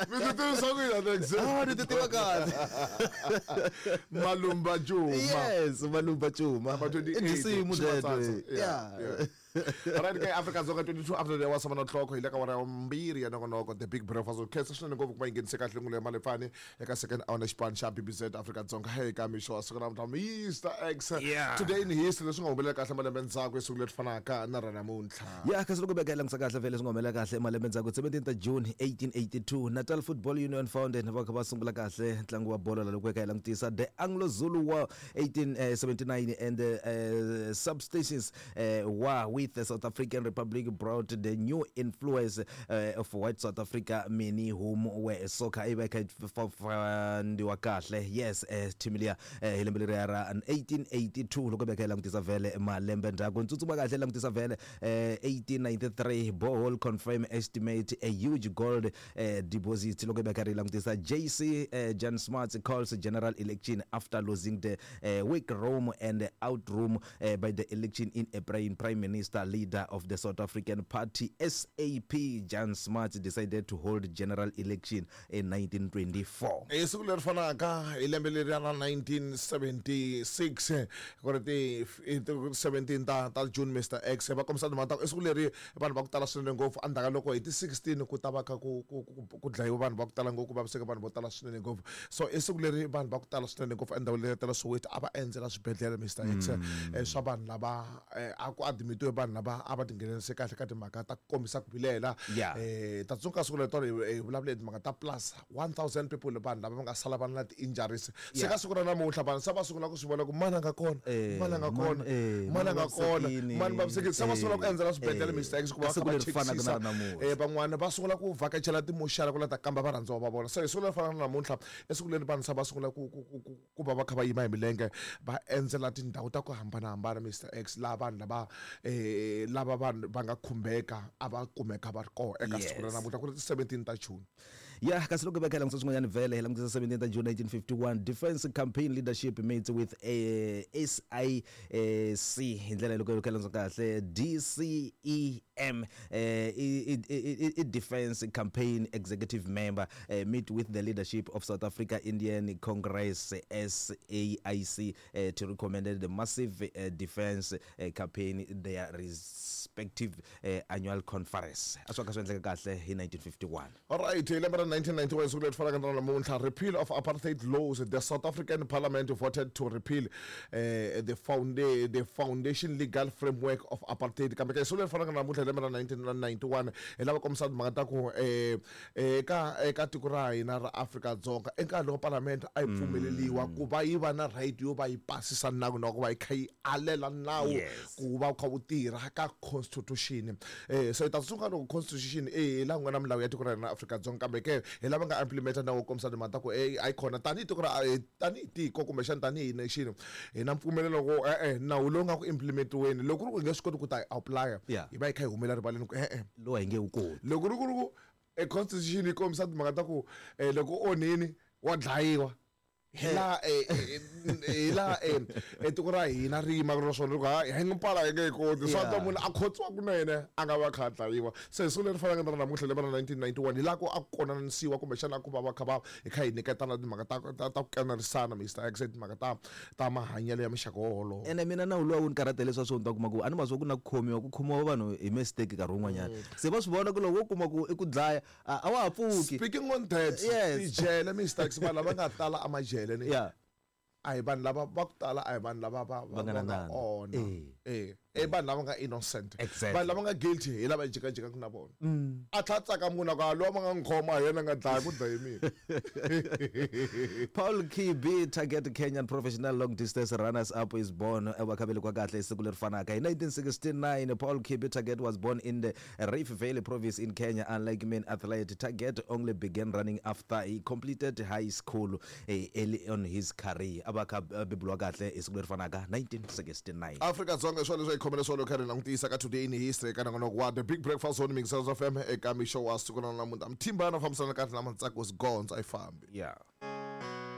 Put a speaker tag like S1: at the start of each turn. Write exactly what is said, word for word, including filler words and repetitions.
S1: Mi ti tivisa ku yini Alex?
S2: Ah, ni ti tiva kahle.
S1: Malumba Juma.
S2: Yes, Malumba Juma.
S1: Number twenty-eight.
S2: I tinsimu teto.
S1: Ximatsatsa.
S2: Yeah.
S1: Yeah. Alright, ke Afrika Dzonga twenty-two after the hour seven o'clock hi le ka wara ya mbirhi ya nongonoko The Big Breakfast. Khensa swinene ngopfu ku va yi nghenise kahle ngule ya Malefani eka second hour na xipano xa B B Z Afrika Dzonga eka mixo wa siku ra namuntlha, Mister X.
S2: Yeah.
S1: Today in history, leswi nga humelela kahle malembe ndzhaku hi siku leri fanaka na ra namuntlha.
S2: Ya, kasi loko beka langutisa kahle vhele swi nga humelela kahle malembe ndzhaku, seventeenth June eighteen eighty-two, Natal Football Union founded, va kha va sungula kahle ntlangu wa bolo la. Loko ka hi langutisa the Anglo Zulu War eighteen seventy-nine and the uh, subsistence uh, war with the South African Republic brought the new influence uh, of white South Africa, many whom were soccer i va kha fandiwa kahle. Yes, uh, team liya uh, hi lembe leriya ra eighteen eighty-two. Loko beka hi langutisa vhele malembe ndzhaku, tsutsuma kahle langutisa vhele eh, eighteen ninety-three, borehole confirm estimate a huge gold eh, deposit. Loko beka ri langutisa J C eh, Jan Smuts calls general election after losing the eh, weak room and out room eh, by the election in April. Prime Minister, leader of the South African Party S A P, Jan Smuts, decided to hold general election in nineteen twenty-four.
S1: Hi siku leri fanaka hi lembe leri ra nineteen seventy-six, ku ri ti i ti seventeen ta ta June, Mister X, va kombisa timhaka ta ku i siku leri vanhu va ku tala swinene ngopfu endzhaku ka loko hi ti sixteen ku ta va kha ku ku ku ku dlayiwa vanhu va ku tala ngopfu, ku vaviseka vanhu vo tala swinene ngopfu. So i siku leri vanhu va ku tala swinene ngopfu endhawini leyi ta la Soweto a va endzela swibedhlele, Mister X, eh, swa vanhu lava eh, a ku admitiwe vanhu lava a va tinghenelerisa kahle ka timhaka ta ku kombisa ku vilela.
S2: Yeah.
S1: eh ta tsundzuka siku leri tolo hi vulavule hi timhaka ta plus one thousand people, vanhu lava va nga sala va na ti-injuries. Se
S2: Yeah.
S1: ka siku ra namuntlha vanhu se va sungula ku swi vona ku mani a nga kona,
S2: Eh,
S1: mani a nga
S2: man-
S1: kona,
S2: eh,
S1: mani a nga kona,
S2: vavisekile.
S1: mani vavisekile. Se va sungula ku
S2: Eh,
S1: endzela swibedhlele,
S2: eh,
S1: Mister X, ku
S2: ka
S1: va kha
S2: siku
S1: va
S2: leri fanaka na
S1: chekisisa.
S2: ra namuntlha.
S1: eh van'wana va sungula ku vhakachela timoxara ku la ta kamba varhandziwa va vona. Se hi siku leri fanaka na namuntlha i siku leri vanhu se va sungula ku ku ku ku- ku va va kha va yima hi milenge va endzela tindhawu ta ku hambanahambana, Mister X, laha vanhu lava eh lava vanhu va nga khumbeka a va kumeka va ri kona eka siku ra
S2: Yes.
S1: namuntlha ku ri ti seventeen ta June.
S2: Ya, kasi loko beka hi langutisa swin'wanyana vhele hi langutisa seventeenth June nineteen fifty-one, Defense Campaign leadership meets with eh, S I C hi ndlela loko hi langutisa kahle D C E M, eh, i, i, i, i Defense Campaign executive member eh, meet with the leadership of South Africa Indian Congress S A I C eh, to recommend the massive eh, defense eh, campaign their respective eh, annual conference. A swi ka swi endleka kahle hi nineteen fifty-one.
S1: Alright, hi lembe ra nineteen ninety-one, siku leri fanaka na namuntlha, repeal of apartheid laws. The South African Parliament voted to repeal uh, the, founda the foundation legal framework of apartheid. Kambe ka siku leri fanaka na namuntlha hi lembe ra nineteen ninety-one, hi lava kombisa timhaka ta ku eh, eka eka tiko ra hina ra Afrika-Dzonga enkarhi loko parliament a yi pfumeleliwa ku va yi va na right yo va yi pasisa nawu na ku va yi kha yi alela nawu
S2: Yes.
S1: ku va wu kha wu tirha ka constitution. eh so hi ta tsundzuka loko constitution eh hi laha ku nga na milawu ya tiko ra hina ra Afrika-Dzonga, kambe ke hi lava nga implementa nawu wo kombisa timhaka ta ku eh a yi kona tanihi tiko ra eh, tanihi tiko kumbexana tanihi nation hi na mpfumelelo ku e-e nawu lowu nga ku implementiweni loko ku ri ku hi nge swi koti ku ta hi apply,
S2: Yeah.
S1: hi va hi kha hi humela rivaleni ku e-e
S2: Lowu a hi nge wu koti.
S1: Loko ri ku ri ku e constitution yi kombisa timhaka ta ku eh, loko u onhini wa dlayiwa, hi laha eh, eh, hi laha eh, eh, tiko ra hina ri yimaka na swona loko hayi hi mpala hi nge yi koti swa
S2: Yeah.
S1: ta munhu a khotsiwa kunene a nga va kha a dlayiwa. Se hi siku leri fanaka na ra namuntlha lembe ra nineteen ninety-one hi laha ku a ku konanisiwa kumbexana a ku va va kha va hi kha hi nyiketana timhaka ta ta ta ku kanerisana, Mister X, timhaka ta ta mahanyelo ya muxaka wolowo.
S2: Ene mina nawu luwa wu ni karhata leswi swo ni ta kuma ku a ni ma swa ku na ku khomiwa ku khomiwa vanhu hi mistake nkarhi wun'wanyana, se va swi vona ku loko wo kuma ku i ku dlaya a a wa ha pfuki.
S1: Speaking on that,
S2: Yes.
S1: tijele, Mister X, vanhu lava nga tala amajele ni
S2: yeah
S1: a hi vanhu lava va ku tala, a hi vanhu lava va
S2: Va nga na
S1: va nga
S2: nandzu.
S1: ona.
S2: Eh.
S1: eh i vanhu lava nga innocent.
S2: Exactly.
S1: Vanhu lava nga guilty hi lava jikajikaka na vona, a tlha a tsaka munhu a ku a lowa va nga n'wi khoma hi yena a nga dlaya ku dlaye mina.
S2: Paul Kibi Tergat, Kenyan professional long distance runners up, is born. Va kha velekiwa kahle hi siku leri fanaka hi nineteen sixty-nine. Paul Kibi Tergat was born in the Rift Valley province in Kenya. Unlike many athletes, Tergat only began running after he completed high school eh, early on his career. A va kha a beburiwa kahle hi siku leri fanaka nineteen sixty-nine.
S1: Afrika-Dzonga, swona leswi hi khomele swona kha ri langutisa ka Today in History eka nongonoko wa The Big Breakfast on Mixers F M eka mixo wa siku ra namuntlha. Mthimbana fambisana kahle na Matsako Sgonza a yi fambi.
S2: Yeah.